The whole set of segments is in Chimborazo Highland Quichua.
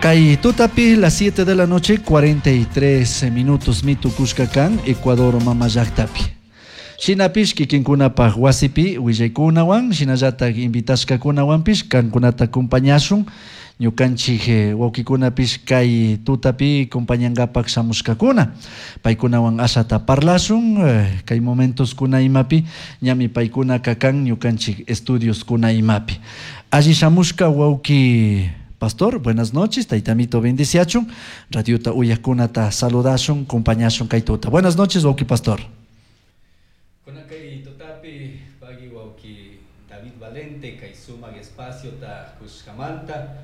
Kay tutapi las 7 de la noche 43 minutos mitukushka kan Ecuador mama llaktapi. Shinapish kikinkunapaj wasipi willaykunawan shinallatak invitashkakunawanpish kankunata acompañashun ñukanchik wawkikunapish kay tutapi compañangapak shamushkakuna paykunawan ashata parlashun kay momentoskuna imapi ñami paykunaka kan ñukanchik estudioskuna imapi. Alli shamushka wawki pastor, buenas noches, taytamito bendiciachun, radiota uyajkunata saludashun, compañashun kay tuta. Buenas noches, wawki pastor. Kay tutapi pagui wawki David Valente kay sumak espaciota kushkamanta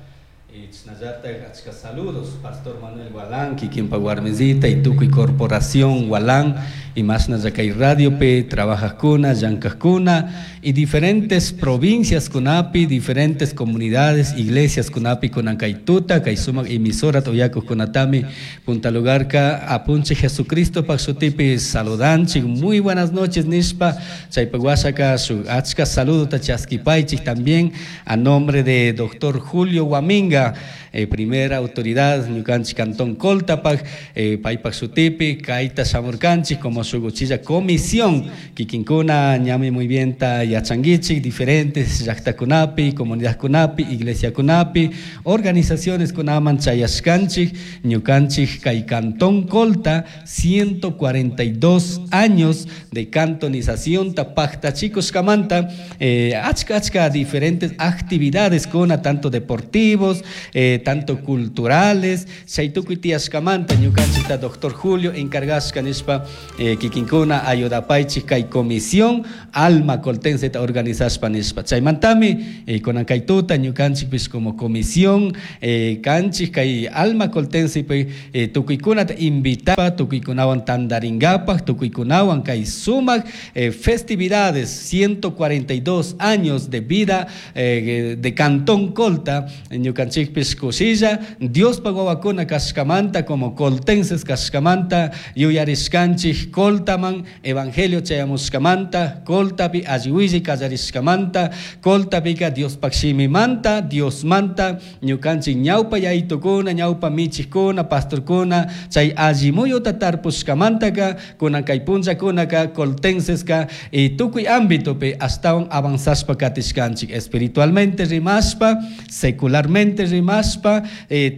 chashnallata achka saludos Pastor Manuel Gualán kikinpa warmisita y tukuy corporación Gualán y mashnalla kay radiopi trabajajkuna llankajkuna y diferentes provincias kunapi diferentes comunidades iglesias kunapi kunan kay tuta kay sumak emisora uyakujkunatami punta lugarka apunchik Jesucristopak shutipi saludanchik. Muy buenas noches nishpa chaypak washaka shuk achka saludota chaskipaychik también a nombre de doctor Julio Guaminga, primera autoridad ñukanchik Cantón Coltapak, paypak shutipi kayta shamurkanchik como shuk uchilla comisión kikinkuna ñami muy bien ta yachankichik diferentes llaktakunapi, comunidadkunapi, iglesiakunapi, organizaciones kunaman chayashkanchik ñukanchik kay Cantón Colta 142 años de cantonización ta paktachikushkamanta achka achka diferentes actividades kuna tanto deportivos, tanto culturales, chay tukuy tiyashkamanta ñukanchikta doctor Julio encargashka nishpa kikinkuna ayudapaychik kay comisión Alma Coltense ta organizashpa nishpa. Chaymantami kunan kay tuta ñukanchikpish como comisión kanchik kay Alma Coltense tukuykunata invitapa tukuykunawan tandaringapak tukuykunawan kay sumak festividades 142 años de vida de Cantón Colta ñukanchikpish kushilla Diospak wawakuna kashkamanta como coltenses kashkamanta yuyarishkanchik Coltaman evangelio chayamushkamanta Coltapi alli willay kallarishkamanta Coltapika Diospak shimimanta Diosmanta ñukanchik ñawpa yayitukuna ñawpa michikuna pastorkuna chay alli muyuta tarpushkamantaka kunan kay punllakunaka coltenseska y tukuy ámbitopi ashtawan avanzashpa katishkanchik espiritualmente rimashpa secularmente rimashpa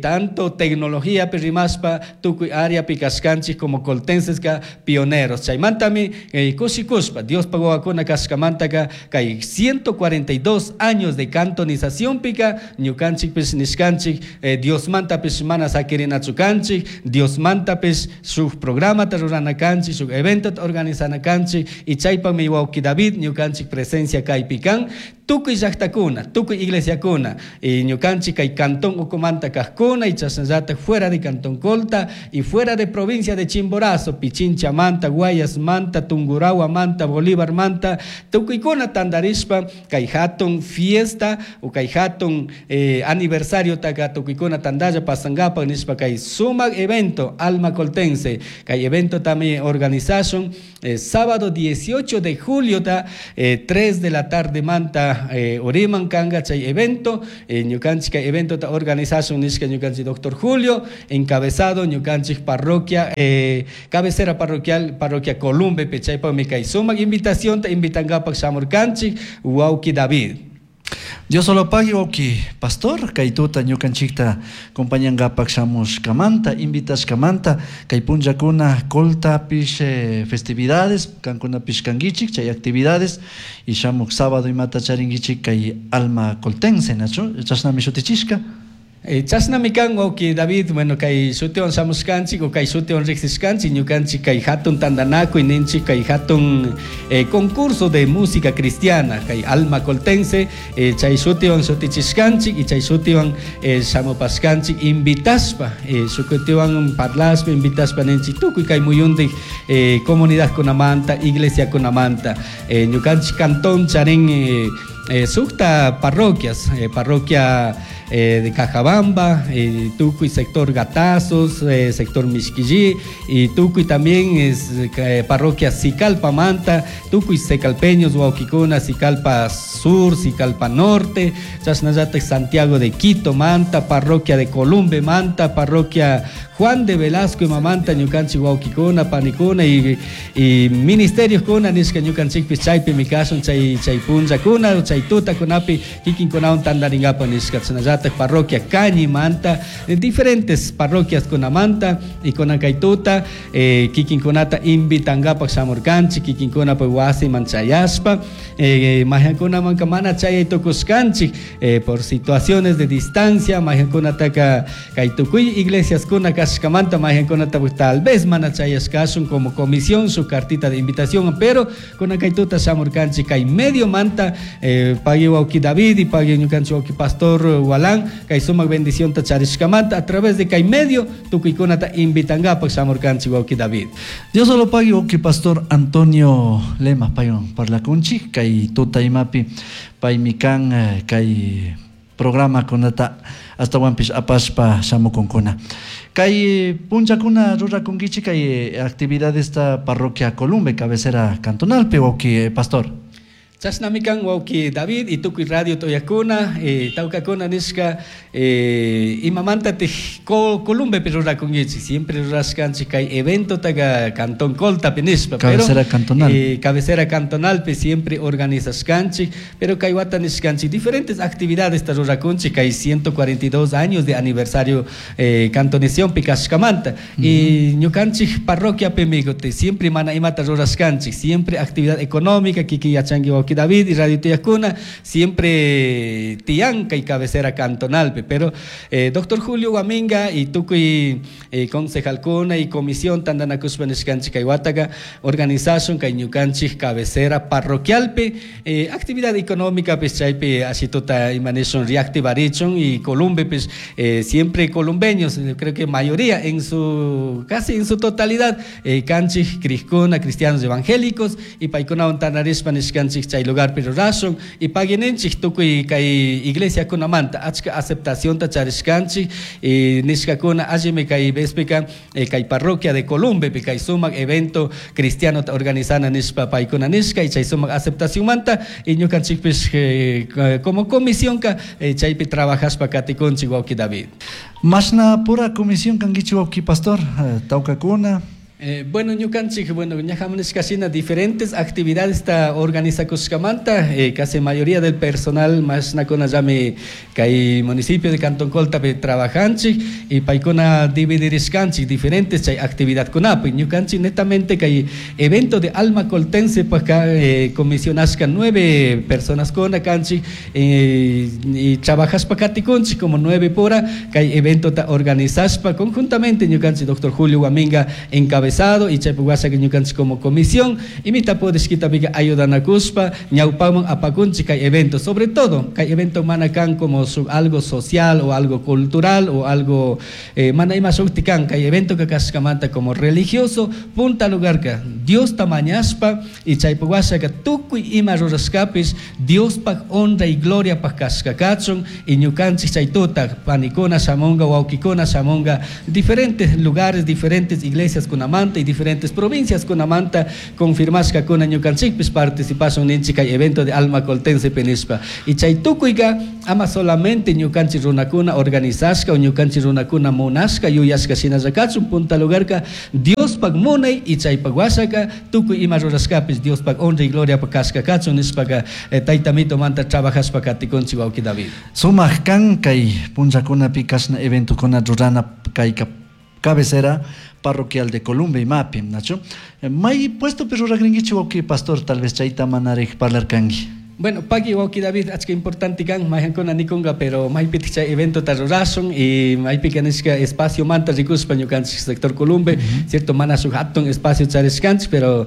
tanto tecnologiapi rimashpa tukuy áreapi kashkanchik como coltenseska pioneros chaymantami kushikushpa Diospak wawakuna kashkamantaka kay 142 años de cantonización pika ñukanchikpish nishkanchik Diosmantapish mana sakirinachu kanchik Diosmantapish shuk programata rurana kanchik shuk eventota organizana kanchik y chaypami wawki David ñukanchik presencia kaypi kan tukuy llaktakuna tukuy iglesiakuna y ñukanchik kay cantón ukumanta kajkuna y chashnallata fuera de Cantón Colta y fuera de provincia de Chimborazo, Pichinchamanta, Guayasmanta, Tungurahuamanta, Bolívarmanta, tukuykuna tandarishpa kay hatun fiesta o kay hatun aniversario taka tukuykuna tandalla pasangapak nishpa kay sumak evento Alma Coltense kay evento también organizashun sábado 18 de julio ta 3 de la tarde manta uriman kanga chay evento ñukanchik kay evento ta organizashun nishka ñukanchik doctor Julio encabezado ñukanchik parroquia cabecera parroquial parroquia Columbe chaypakmi kay sumak invitación ta invitangapak shamurkanchik wawki David. Dios solo pague wawki pastor kay tuta ñukanchikta compañangapak shamushkamanta invitashkamanta kay punllakuna Coltapish festividades kankunapish kankichik chay actividades y shamuk sábado imata charinkichik kay Alma Coltense nachu chashnami shutichishka. Chashnami kan wawki David, bueno kay shutiwan shamushkanchik o kay shutiwan riksishkanchik ñukanchik kay hatun tandanakuy ninchik kay hatun concurso de música cristiana kay Alma Coltense chay shutiwan shutichishkanchik y chay shutiwan shamupashkanchik invitashpa shukutiwan parlashpa invitashpa ninchik tukuy kay muyuntik comunidadkunamanta iglesiakunamanta ñukanchik cantón charin Sukta parroquias, parroquia de Cajabamba, tukuy sector Gatazos, sector Mishquillí, y tukuy también es parroquia Sicalpa Manta, tukuy secalpeños, wawkikuna, Sicalpa Sur, Sicalpa Norte, chashnallata Santiago de Quito Manta, parroquia de Columbe Manta, parroquia Juan de Velasco y Mamanta, ñukanchik wawkikuna, panikuna y ministerios kuna nishka ñukanchikpis chaypimi kashun chay chay punllakuna, chay tutakunapi kikinkunawan tantarinkapak nishka, chashnallata parroquia Cañi Manta, diferentes parroquias kunamanta y kunan kay tuta kikinkunata invitankapak shamurkanchik, kikinkunapak wasiman chayashpa, mayankunamanka mana chayay tukushkanchik por situaciones de distancia, mayankunataka kay tukuy iglesias kuna kashkamanta mayankunata tal vez mana chayashkashun como comisión su cartita de invitación, pero kunan kay tuta shamurkanchik kay medio manta, pagui wawki David y pagui ñukanchik wawki Pastor Walán, kay sumak bendición ta charishkamanta a través de kay medio tukuykunata invitankapak shamurkanchik wawki David. Dios solo pagui wawki Pastor Antonio Lema paywan parlakunchik kay tuta imapi paymi kan kay programa kunata astawanpish apashpa shamukunkuna. Kay punllakuna rurakunkichik kay actividades esta parroquia Columbe cabecera cantonalpi wawki Pastor. Chashnami kan wawki David y tukuy radio toyakuna, tawkakuna nishka, imamantatik Columbepi rurakunkichik, siempre rurashkanchik kay evento taga Cantón Coltapi nishpa, pero, Cabecera cantonal. Cabecera cantonalpi siempre organizashkanchik, pero kay wata nishkanchik diferentes actividades ta rurakunchik kay 142 años de aniversario, cantonizaciónpi kashkamanta. Y ñukanchik parroquiapimi siempre mana imata rurashkanchik, siempre actividad económica, kiki yachanki wawki David y Radio Tiyakuna, siempre tiyanka y cabecera cantonalpi, pero doctor Julio Guaminga y tukuy concejalkuna y comisión tantanakushpa nishkanchik kay wataka organizashun kay ñukanchik cabecera parroquialpi, actividad económica pues chaypi ashituta imanishun reactivarichun y Columbe pues, siempre columbeños, yo creo que mayoría en su casi en su totalidad, kanchik criskuna cristianos evangélicos y paykunawan tantarishpa nishkanchik chay lugar pero rashun y paguinenchik tukuy kay iglesia kunamanta achka aceptación ta charishkanchik y nishkakuna allimi kay vespika, kay parroquia de Columbe kay sumak evento cristiano ta organizana nishpa paykuna nishka y chay sumak aceptación manta y ñukanchikpish, como comisión ka, chaypi trabajashpa katikunchik wawki David. Mashna pura comisión kankichik wawki Pastor, tawkakuna. Bueno, ñukanchik, bueno, ñajamunishka shina diferentes actividades ta organizakushkamanta, casi mayoría del personal mashnakuna llami kay municipio de Cantón Coltapi trabajanchik y paykuna dividirishkanchik diferentes chay actividadkunapi. Ñukanchik netamente kay evento de Alma Coltense pues ka, comisionashka 9 personas kuna kanchik, y trabajashpa katikunchik como 9 pura kay evento ta organizashpa conjuntamente ñukanchik doctor Julio Guaminga encabezado y chaypi washa ñukanchik como comisión y mita podishkitapika ayudanakuspa ñawpaman apakunchik kay evento, sobre todo kay evento mana kan como algo social o algo cultural o algo, mana ima shukti kan kay evento ka kashkamanta como religioso punta lugar ka Dios tamañashpa y chaypi washa ka tukuy ima rurashkapis Diospaj honra y gloria paj kashkakachun y ñukanchik chay tuta panikuna shamunga wawkikuna shamunga diferentes lugares, diferentes iglesias kunamanta y diferentes provincias kunamanta confirmashka kuna ñukanchikpis participashun ninchik kay evento de Alma Coltense penishpa y chay tukuyka ama solamente ñukanchik runakuna organizashka o ñukanchik runakuna munashka yuyashka shinallakachun punta lugarka Diospaj munay y chaypaj washaka tukuy ima rurashkapis Diospaj honra y gloria pa kashkakachun nishpaka, tayta mito manta trabajashpa katikunchik wawki David. Sumak kan kay punllakunapi kashna eventokuna rurana kay cabecera parroquial de Columbe y Mapi, Nacho. May puesto pero ragringuichi wawki Pastor, tal vez chayta manarej parlarkangi. Bueno, pagui wawki David, achka importante kan, mayankuna nikunga, pero maypitik chay evento ta rurashun y maypika nishka espacio manta rikuspa ñukanchik sector Columbe, cierto, mana shuk hatun espacio charishkanchik, pero,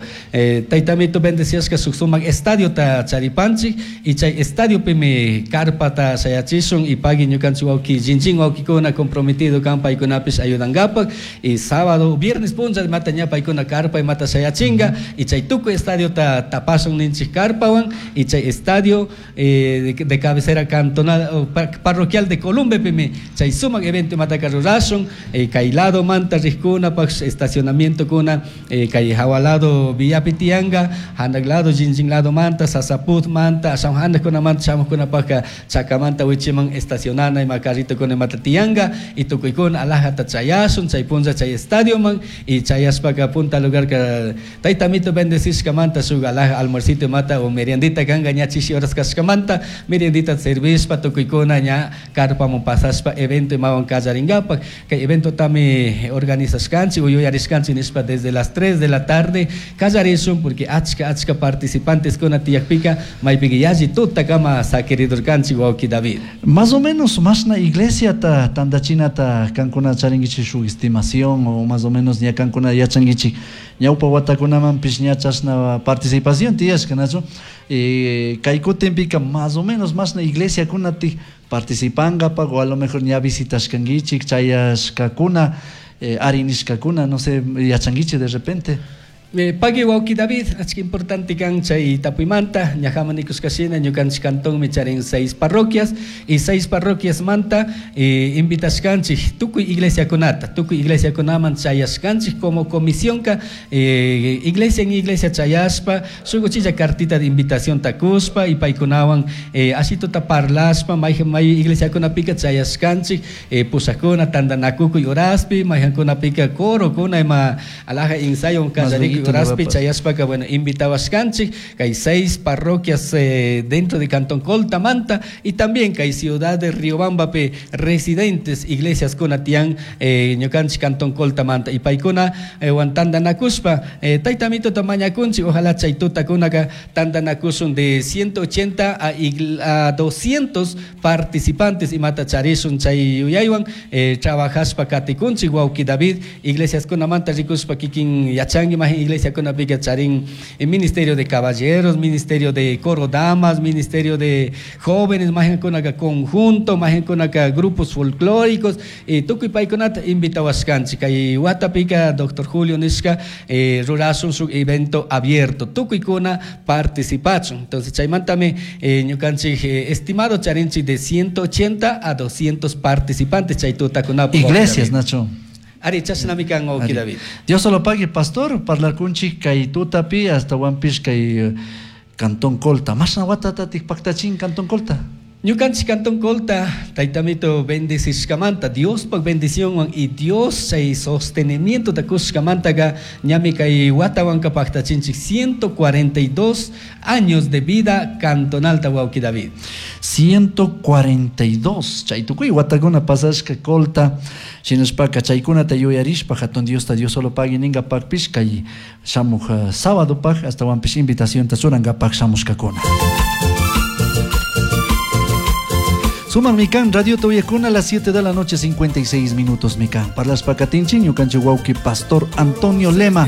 taytamito bendeciashka shuk sumak estadio ta charipanchik y chay estadio pimi carpa ta shayachishun y pagui ñukanchik wawki jinjin wawkikuna comprometido kan paykunapish ayudangapak y sábado, viernes punlla mata ña paykuna carpa y mata shayachinga y chay tukuy estadio ta tapashun ninchik carpawan y chay estadio estadio de cabecera cantonal parroquial de Columbepimi chay sumak evento imataka rurashun, kay lado manta rijkunapaj estacionamiento kuna kay hawa lado villapi tiyanka, hanak lado jinjin lado manta, Sasaput manta, ashawan hanakkunamanta shamuqkunapajka chakamanta wichiman estacionana ima carritokuna imata tiyanka y tukuykuna alajata chayashun chay punlla chay estadioman y chayashpaka punta lugarka taytamito bendecishkamanta shuk alaja almuercito imata o meriendita kanka ña chishi horas kashkamanta meriendita servishpa tukuykuna ña carpaman pasashpa evento imawan kallarinkapak. Kay eventotami organizashkanchik o yuyarishkanchik nishpa desde las 3 de la tarde kallarishun porque achka achka participantes kuna tiyakpika maypika yalli tutakama sakiridurkanchik wawki David. Más o menos mashna iglesiata tandachinata kankuna charinkichik shuk estimación o más o menos ña kankuna yachankichik ñawpa watakunamanpish ña chashna participación tiyashka, nachu? Kay kutinpika más o menos mashna iglesiakunatik participankapak o a lo mejor ña visitashkankichik chayashkakuna, arinishkakuna, no sé, yachankichik de repente. Pagui wawki David, achka importante kan chay tapuymanta, ñajaman nikushkashina ñukanchik cantonmi charin 6 parroquias y 6 parroquias manta invitashkanchik tukuy iglesiakunata, tukuy iglesiakunaman chayashkanchik como comisiónka, iglesia en iglesia chayashpa, shuk uchilla cartita de invitación takushpa y paykunawan ashituta parlashpa, mayjan may iglesiakunapika chayashkanchik, pushakuna tandanakukuy horaspi, mayjankunapika corokuna ima alaja ensayo kallarikuy horaspi chayashpaka, bueno, invitawashkanchik kay 6 parroquias dentro de Cantón Colta Manta y también kay ciudad de Riobambapi residentes iglesias kuna tiyan, ñukanchik Cantón Colta Manta y paykuna wan tandanakushpa, taytamituta mañakunchik, ojalá chay tutakunaka tandanakushun de 180 a 200 participantes imata charishun chay yuyaywan, trabajashpa katikunchik wawki David, iglesias kunamanta rikushpa kikin yachanki mahin iglesiakunapika charin ministerio de caballeros, ministerio de coro damas, ministerio de jóvenes, mahinkunaka conjunto, mahinkunaka grupos folclóricos, y tukuy paykunata invitawashkanchik. Kay watapika doctor Julio nishka, rurashun shuk evento abierto, tukuykuna participachun. Entonces chaymantami, ñukanchik, estimado charinchik de 180 a 200 participantes chay tutakunapak. Iglesias, Nacho. Ari, chashnami kan wawki Ari. David. Dios solo pague, pastor, parlar kunchik kay tutapi hasta wampish kay Cantón Colta. Mashna watatatik paktachin Cantón Colta. Ñukanchik Cantón Colta, taytamito bendecishkamanta, Diospaj bendicionwan y Dios chay sostenimiento takushkamantaka ñami kay watawanka paktachinchik 142 años de vida cantonal ta wawki David. 142, chay tukuy watakuna pasashka Colta, shinashpaka chaykunata yuyarishpa hatun Diosta Dios solo pagui ninkapakpish kay shamuj sábado paj hasta wampish invitacionta churankapak shamushkakuna. Suman mikan, Radio Toyacuna a las 7 de la noche, 56 minutos mikan. Parlas pacatinchi, ñukanchi wawki Pastor Antonio Lema.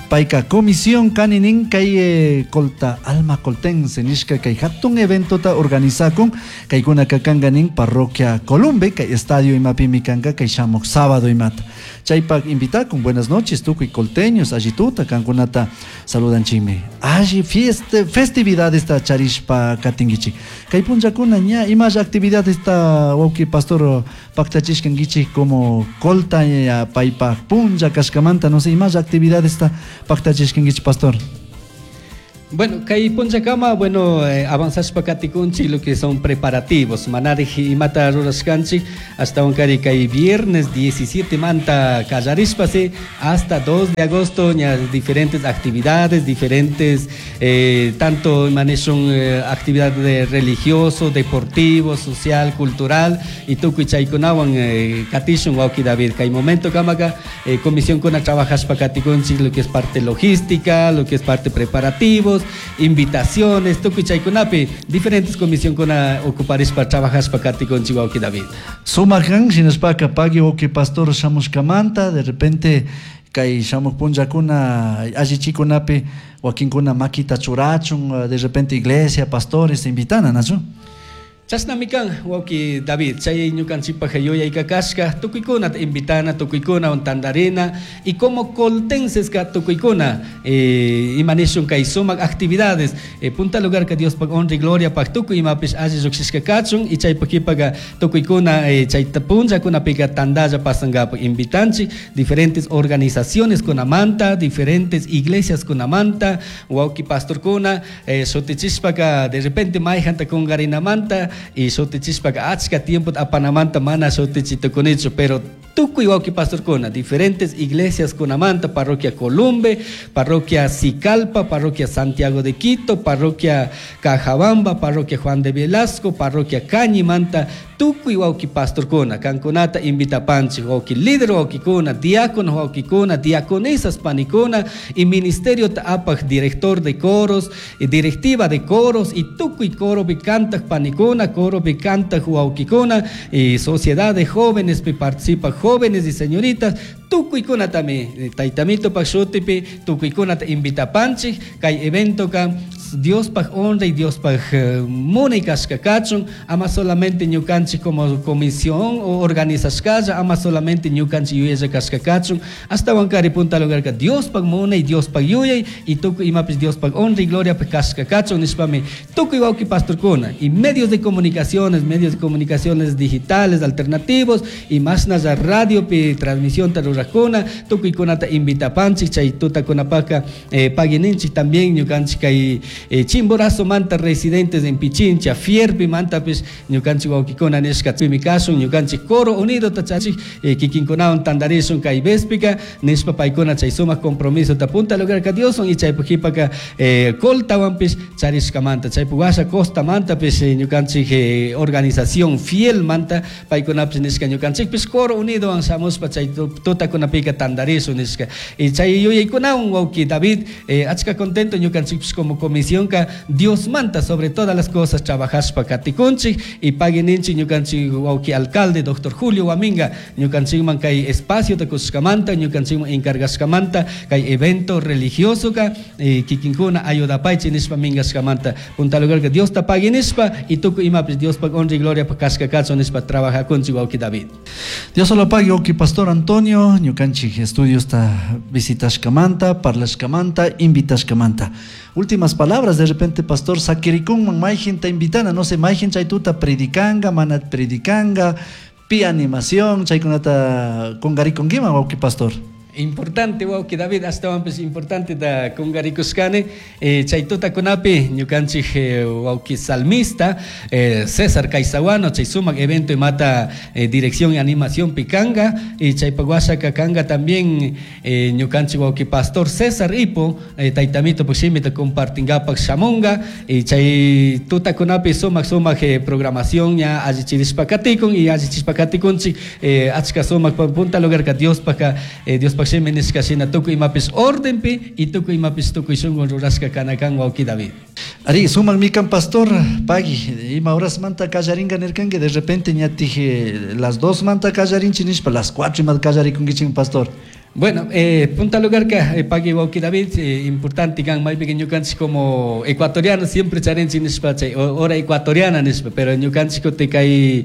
Paika comisión kaninin kay Colta Alma Coltense nishka kay hatun evento ta organizakun kaykuna kakanganin parroquia Columbe kay estadio imapi mikanka kay shamuk sábado imata. Chaypak invitakun buenas noches tukuy colteños allituta kankunata saludanchimi. Alli fiesta festividades ta charishpa katingichi. Kay punllakuna ña imash actividades ta wawki pastor paktachishkankichik como Colta ya paypak punlla kashkamanta no sé imash actividades ta paktachishkankichik pastor. Bueno, kay punllakama, bueno, avanzashpa katikunchik lo que son preparativos, manarij imata rurashkanchik, hasta kari kay viernes 17 manta kallarishpasi hasta 2 de agosto, ña diferentes actividades, diferentes, tanto maneshun actividad de religioso, deportivo, social, cultural, y tukuy chaykunawan katishun wawki David. Kay momento kamaka comisión kuna trabajashpa katikunchik lo que es parte logística, lo que es parte preparativos, invitaciones, tukuy chaykunapi, diferentes comisión kuna ocuparishpa trabajashpa katikunchik wawki David. Sumajan, shinashpaka pagui wawki pastor shamushkamanta, de repente kay shamuk punllakuna allichikunapi wakinkuna makita churachun, de repente iglesia, pastores invitana, ¿no? Chashnami kan wawki David, chay ñukanchikpak yuyayka kashka tukuykunata invitana, tukuykunawan tantarina y como coltenseska tukuykuna ima nishun kay sumak actividades punta lugarka Diospak honra y gloriapak tukuy imapish alli llukshishka kachun y chaypak kipaka tukuykuna chay punllakunapika tantalla pasankapak invitanchik diferentes organizaciones kunamanta, diferentes iglesias kunamanta, wawki pastorkuna shutichishpaka de repente mayjanta kunkarinamanta y shutichishpaka achka tiempota apanamanta mana shutichitukunichu, pero tukuy wawki pastorkuna diferentes iglesias kunamanta, parroquia Columbe, parroquia Sicalpa, parroquia Santiago de Quito, parroquia Cajabamba, parroquia Juan de Velasco, parroquia Cañimanta, tukuy wawki pastorkuna kankunata invitapanchik, wawki líder wawkikuna, diácono wawkikuna, diaconisas panikuna y ministerio apak director de coros, y directiva de coros y tukuy coropi kantak panikuna, coropi kantak wawkikuna y sociedad de jóvenes pi participa jóvenes y señoritas, tukuykunatami taytamitopak shutipi tukuykunata invitapanchik kay eventoka Diospaj honra y Diospaj munay kashka kachun, ama solamente ñukanchik como comisión o organizashkalla, ama solamente ñukanchik yuyalla kashka kachun, ashtawankari punta lugarka Diospaj munay, Diospaj yuyay y tukuy imapish Diospaj honra y gloria kashka kachun nishpami tukuy wawki pastorkuna y medios de comunicaciones digitales alternativos y mashnalla radiopi transmisión rurakuna, tukuykunata invitapanchik chay tutakunapaka paguininchik también ñukanchik kay Chimborazo manta residentes en Pichincha, Fierpi mantapis ñukanchik wawkikuna nishka pimi kashun ñukanchik coro unido tachachik kikinkunawan tantarishun kay vespika nishpa paykuna chay sumak compromiso ta punta lugarka Dioswan y chaypuk qhipaka coltawanpish charishkamanta chaypuk washa costa mantapis ñukanchik organización fiel manta paykunapish nishka ñukanchikpish coro unidowan shamushpa chay tutakunapika tantarishun nishka y chay yuyaykunawan wawki David achka contento ñukanchikpish como comisión Dios manta sobre todas las cosas trabajashpa katikunchik y paguininchik ñukanchik wawki alcalde doctor Julio Guaminga ñukanchikman kay espacio kushkamanta ñukanchikman encargashkamanta kay evento religioso ka kikinkuna ayudapaychik nishpa minkashkamanta punta lugarka Diosta paguinishpa y tukuy imapish Diospak honra y gloria kashka kachun nishpa trabajakunchik wawki David. Dios solo pague wawki pastor Antonio ñukanchik estudiosta visitashkamanta, parlashkamanta, invitashkamanta. Últimas palabras, de repente pastor sakirikunman mayjinta invitana, no sé, mayjin chaytuta predicanga, mana predicanga, pi animación, chaykunata kungarikunkiman wawki pastor. Importante wawki David, ashtawanpish importante da kungarikushkani chay tutakunapi ñukanchik wawki salmista César Caizahuano chay sumak evento imata dirección y animación pikanga y chaypak washaka kanga también ñukanchik wawki pastor César Ipo taytamito shimita compartingapak shamunga y chay tutakunapi sumak sumak programación ña allichirishpa katikun y allichishpa katikunchik achka sumak punta lugarka Diospaka Diospaka shimi nishka shina tukuy imapish ordenpi y tukuy imapish tukuy shunqun rurashka kanakan wawki David. Ari, sumak mikan pastor, pagui, ima horas manta kallaringa nirkanki, de repente ñatij las 2 manta kallarinchi nishpa, las 4 ima kallarikunkichik pastor. Bueno, punta lugarka pagui wawki David, importante kan maypika ñukanchik como ecuatoriano siempre charinchik nishpa chay hora ecuatoriana nishpa, pero ñukanchik kutin kay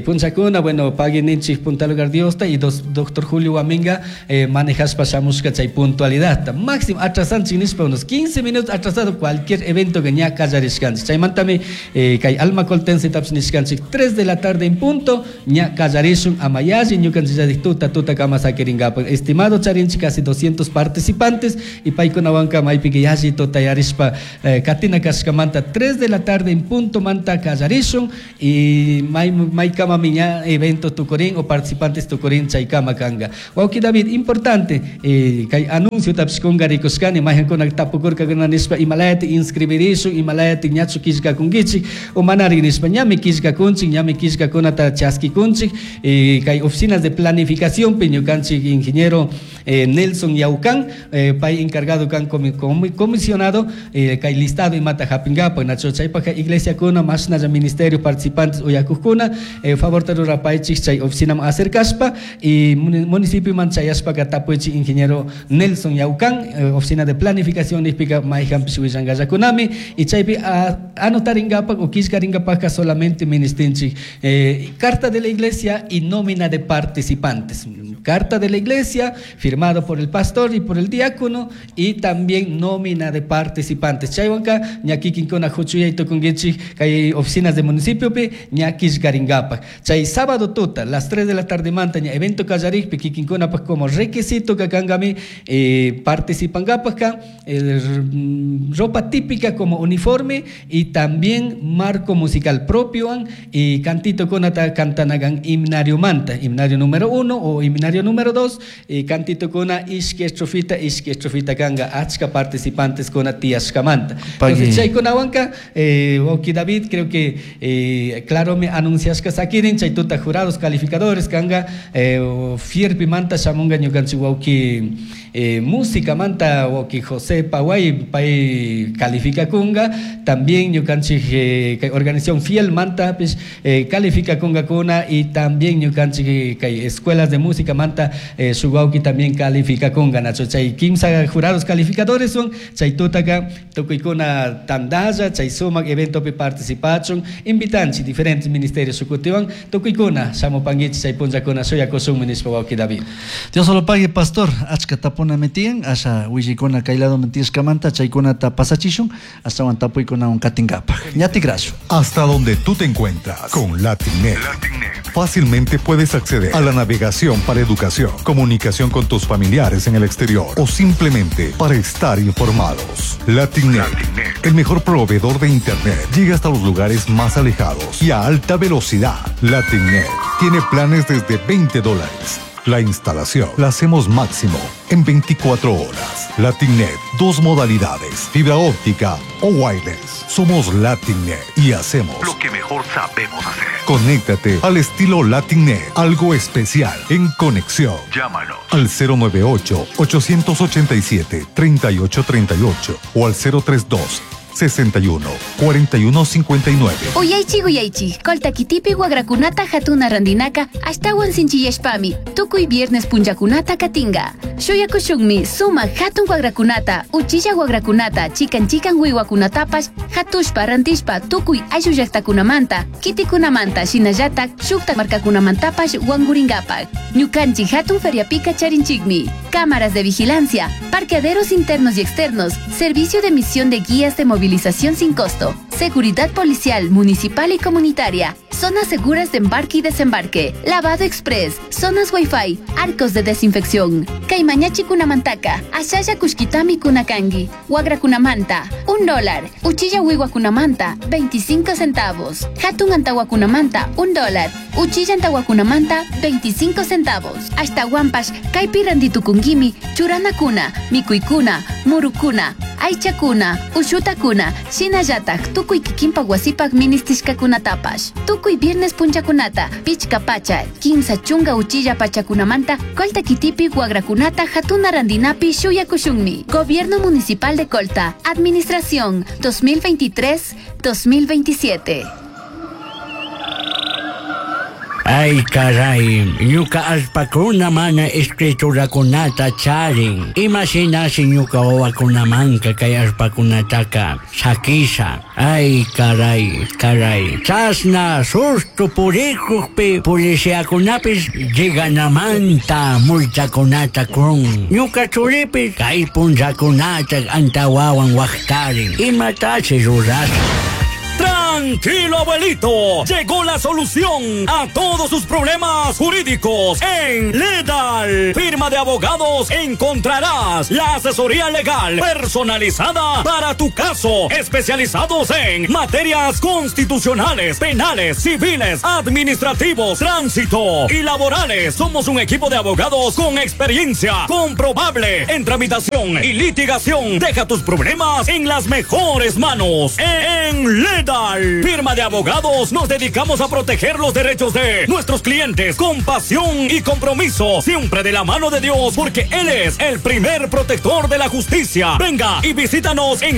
punchakuna, bueno, pagui ninchik punta lugar Diosta y doctor Julio Guaminga manejashpa shamushka chay puntualidad máximo atrasanchik nishpa unos 15 minutos atrasado cualquier evento que ña kallarishkanchik, chaymantami kay alma coltense tapish nishkanchik 3 de la tarde en punto ña kallarishun amayalli ñukanchik tuta tuta kama sakirinkapak. Estimado charinchik casi 200 participantes y paykunawanka maypika yalli tutayarishpa katina kashkamanta 3 de la tarde en punto manta kallarishun y maykamami ña evento tukurin o participantes tukurin chaykama kanga. Wawki David, importante kay anuncio tapish kungarikushkani mayjankuna tapukurkakuna nishpa imalayati inscribirishun imalayati ñachu killkakunkichik o manari nishpa ñami killkakunchik ñami killkakunata chaskikunchik kay oficinas de planificación pi ñukanchik ingeniero ingeniero Nelson Yaucán, pay encargado kan comisionado kay listado imata hapingapaj, nacho chaypajka iglesiakuna mashnalla ministerio participantes uyakujkuna favorta rurapaychik chay oficinaman acercashpa y municipioman chayashpaka tapuychik ingeniero Nelson Yaucán, oficina de planificación nijpika mayjanpish willankallakunami y chaypi anotarinkapak o killkarinkapajka solamente ministinchik carta de la iglesia y nómina de participantes. Carta de la iglesia firmado por el pastor y por el diácono y también nómina de participantes. Chaywanka ña kikinkuna huchuyay tukunkichik kay oficinas de municipiopi ña killkarinkapak. Chay sábado tuta, las 3 de la tarde manta ña evento kallarikpi kikinkunapak como requisito kankami participankapakka ropa típica como uniforme y también marco musical propio y cantito kunata cantanagan himnario manta, himnario número 1 o himnario número 2 y cantito kuna ishki estrofita kanga achka participantes kuna tiyashkamanta. Entonces chaykunawanka wawki David creo que claro me anunciashka sakirin chay tuta jurados calificadores kanga fierpi manta shamunga ñukanchik wawki música manta wawki José Paway pay calificakunga también ñukanchik kay organización fiel manta pues calificakunga kuna y también ñukanchik kay escuelas de música manta shuk wawki también calificakunga nacho chay kimsa jurados calificadores son chay tutaka tukuykuna tandalla chay sumak eventopi participachun invitanchik diferentes ministerios shukutiwan tukuykuna shamupankichik chay punllakuna shuyakushunmi nishpa wawki David. Dios lo pague, pastor. Achka tapuna metian asha willikuna kay lado mentishkamanta chaykunata pasachishun ashtawan tapuykunawan katinkapaj. Ñatikrashun. Hasta donde tú te encuentras con Latinet. Fácilmente puedes acceder a la navegación para educación, comunicación con tus familiares en el exterior o simplemente para estar informados. Latinet, el mejor proveedor de internet, llega hasta los lugares más alejados y a alta velocidad. Latinet tiene planes desde $20. La instalación la hacemos máximo en 24 horas. Latinet, 2 modalidades, fibra óptica o wireless. Somos Latinet y hacemos lo que mejor sabemos hacer. Conéctate al estilo Latinet, algo especial en conexión. Llámanos al 098-887-3838 o al 032 61 41 59. Uyaychi uyaychi, Colta kitipi wagrakunata hatuna randinaka ashtawan sinchiyashpami tukuy viernes punllakunata katinga. Shuyakushunmi suma hatun wagrakunata, uchilla wagrakunata, chikan chikan wiwakunatapash hatushpa rantishpa tukuy ayllu llaqtakunamanta, kitikunamanta shinallatak shukta markakunamantapash wangurinkapak. Ñukanchik hatun feriapika charinchikmi. Cámaras de vigilancia, parqueaderos internos y externos, servicio de emisión de guías de movilización sin costo, seguridad policial, municipal y comunitaria, zonas seguras de embarque y desembarque, lavado express, zonas wifi, arcos de desinfección. Kaymañachi kunamantaka, ashalla kushkitami kunakangi, wagra kunamanta, $1, uchilla wiwa kunamanta, 25 centavos, hatun antawa kunamanta, $1, uchilla antawa kunamanta, 25 centavos. Hasta wampash, kaypi randitukunkimi, churanakuna, mikuykuna, murukuna, aychakuna, ushutakuna, shinallatak tukuy kikinpak wasipak ministishkakunatapash. Tukuy viernes punchakunata, pichka pacha, 30 uchilla pachakunamanta, Colta kitipi wagrakunata hatuna randinapi shuyakushunmi. Gobierno Municipal de Colta, Administración 2023-2027. Ay, caray, ñuka allpakuna mana escriturakunata charin. Imashinashi ñuka wawakunamanka kay allpakunataka sakisha. Ay, caray, caray. Chasna susto purikukpi policiakunapis lleganamanta multakunata kun. Ñuka churipis kay punllakunata antawawan waqtarin. Imatashi rurasha. Tranquilo, abuelito. Llegó la solución a todos sus problemas jurídicos en Ledal. Firma de abogados encontrarás la asesoría legal personalizada para tu caso. Especializados en materias constitucionales, penales, civiles, administrativos, tránsito y laborales. Somos un equipo de abogados con experiencia comprobable en tramitación y litigación. Deja tus problemas en las mejores manos. En Ledal. Ledal, firma de abogados, nos dedicamos a proteger los derechos de nuestros clientes con pasión y compromiso, siempre de la mano de Dios, porque Él es el primer protector de la justicia. Venga y visítanos en